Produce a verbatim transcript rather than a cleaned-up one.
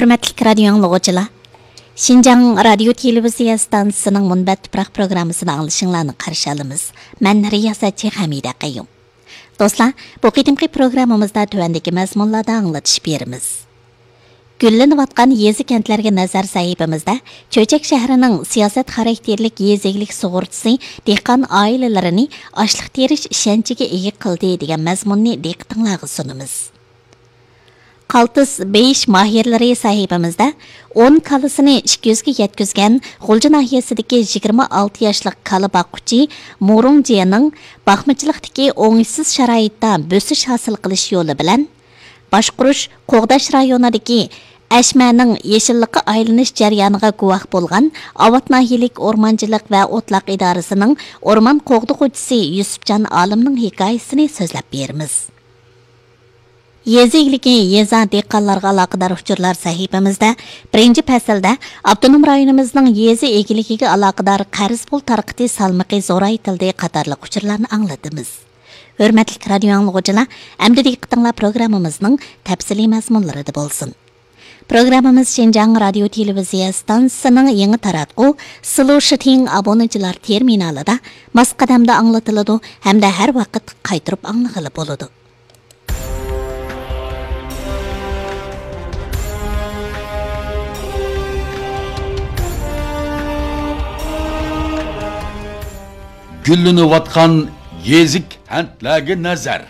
ھۆرمەتلىك رادىيو ئاڭلىغۇچىلار، شىنجاڭ رادىيو تېلېۋىزىيە ئىستانسىسىنىڭ مۇنبەت تۇپراق پروگراممىسىدا ئاڭلىشىڭلارنى قارشى ئالىمىز. مەن رىياسەتچى ھەمىدە قەييۇم. دوستلار، بۇ قېتىمقى پروگراممىمىزدا تۆۋەندىكى مەزمۇنلاردا ئاڭلىتىش بېرىمىز. گۈللىنىۋاتقان يېزا كەنتلەرگە نەزەر سەھىپىمىزدە چۆچەك شەھىرىنىڭ سىياسەت خاراكتېرلىك يېزا ئىگىلىك سۇغۇرتىسى دېھقان ئائىلىلىرىنى ئاشلىق تېرىش ئىشەنچىگە ئىگە قىلدى دېگەن مەزمۇننى دىققىتىڭلارغا سۇنىمىز. قالتىس بېيىش ماھىرلىرى سەھىپىمىزدە ئون كالىسىنى ئىككى يۈزگە يەتكۈزگەن غۇلجا ناھىيەسىدىكى يىگىرمە ئالتە ياشلىق كالا باققۇچى مۇرۇڭ جيەنىڭ باقمىچىلىقتىكى ئوڭۇشسىز شارائىتتا بۆسۈش ھاسىل قىلىش يولى بىلەن باشقۇرۇش قوغداش رايونىدىكى ئەشمەنىڭ يېشىللىققا ئايلىنىش جەريانىغا گۇۋاھ بولغان ئاۋات ناھىيەلىك ئورمانچىلىق ۋە ئوتلاق ئىدارىسىنىڭ ئورمان قوغدىغۇچىسى يۈسۈپجان ئالىمنىڭ ھېكايىسىنى سۆزلەپ بېرىمىز. يېزا ئىگىلىكى، يېزا، دېھقانلارغا ئالاقىدار ئۇچۇرلار سەھىپىمىزدە بىرىنچى پەسىلدە ئاپتونوم رايونىمىزنىڭ يېزا ئىگىلىكىگە ئالاقىدار قەرز پۇل تارقىتىش سالمىقى زورايتىلدى قاتارلىق ئۇچۇرلارنى ئاڭلىتىمىز. ھۆرمەتلىك رادىيو ئاڭلىغۇچىلار، ئەمدى دىققىتىڭلار پروگراممىمىزنىڭ تەپسىلىي مەزمۇنلىرىدا بولسۇن. پروگراممىمىز شىنجاڭ رادىيو تېلېۋىزىيە ئىستانسىسىنىڭ يېڭى تاراتقۇ سىلۇشىتىڭ ئابۇنىچىلار تېرمىنالىدا ماس قەدەمدە ئاڭلىتىلىدۇ ھەمدە ھەر ۋاقىت قايتۇرۇپ ئاڭلىغىلى بولىدۇ. گۈللىنىۋاتقان يېزا كەنتلەرگە نەزەر.